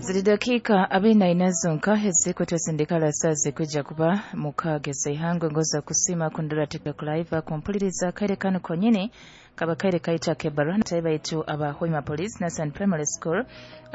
Ziri dakiika 44 zonka ezikutwesindikala saa zikwijja kuba mukaaga ez'eihangwe. Ngoza kusiima kundora TikTok live kumpuliriza akaire kanu konyini kaba kaire kaita kebaruha natayi baitu aba Hoima Police Nursery Primary School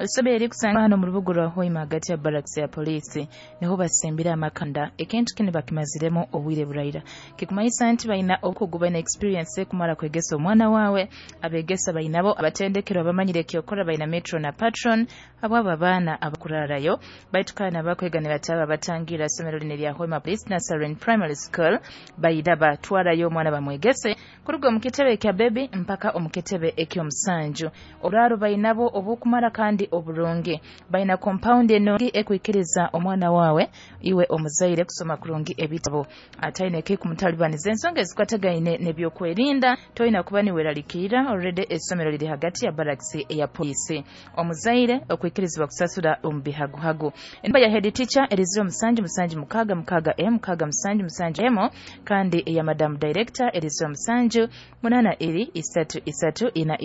isomero erikusangwa hano mu rubuga rwa Hoima hagati ya barracks ya poliisi niho basimbire amakanda. Ekintu kinu bakimaziremu obwire buraira kikumanyisa nti balina obukugu, balina experience kumara kwegesa omwana wawe. Abegesa bainabo abatendekero abamanyire ekyokora, balina metro na patron abo abaana abakurarayo baitu kandi abakwega nibataba batangira isomero lino erya Hoima Police Nursery Primary School baida batwarayo omwana bamwegese kuruga omu kitebe ekya bebi mpaka omu kitebe eky'omusanju. Oraro bainabo obukumara kandi oburungi, baina compound enungi ekwikiriza omwana wawe iwe omuzaire kusoma kurungi ebitabo ataine ekikumutalibaniza. Ensonga ezikwatagaine n'ebyokwerinda toyina kuba niweralikirira, already essomero liri hagati ya barracks eya poliisi. Omuzaire okwikirizibwa kusasura omu bihaguhagu. Enamba ya head teacher eri 07 7 6 6 m 6 7 7 m kandi eya madam director eri 07 8 2 3 3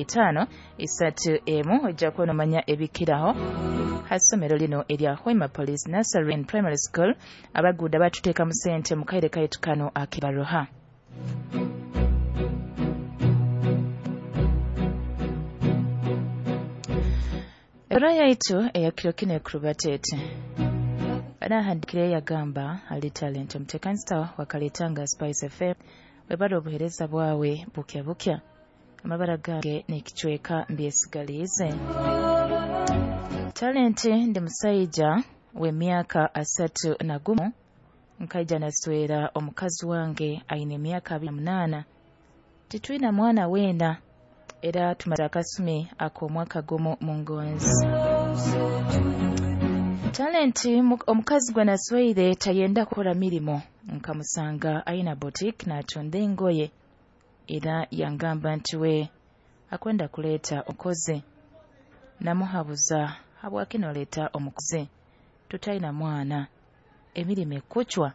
4 5 3 m. Ojja kuba nomanya ebikiraho ha ssomero lino erya Hoima Police Nursery and Primary School. Abaguuda batuteekamu sente mu kaire kaitu kano akibaruha. Ebara yaitu eya kiro kino ekurubateete anahandikire yagamba ali Talent omuteekanisita wakaletanga Spice FM webara obuhereza bwawe bukya bukya amabara gange n'ekicweka mbyesigaliize. Talent ndi musaija w'emyaka 31, nkaija naswera omukazi wange aine emyaka 28. Titwina mwana weena era tumaze akasumi ak'omwaka gumu mu ngonzi. Talent omukazi gwe nasweire tayenda kukora mirimo, nkamusanga aina boutique n'atunda engoye era yangamba nti we akwenda kuleeta omukozi. Namuhabuza habwaki noleeta omukozi tutaina mwana emirimu ekucwa.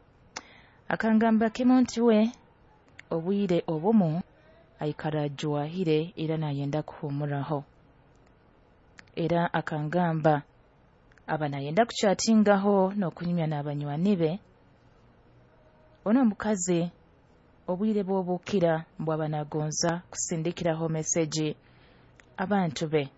Akangamba kimu nti we obwire obumu aikara ajwahire era nayenda kuhumuraho. Era akangamba aba nayenda kuchatingaho n'okunyumya n'abanywani be. Ono omukazi obwire bw'obukira mbwaba nagonza kusindikiraho meseji abantu be.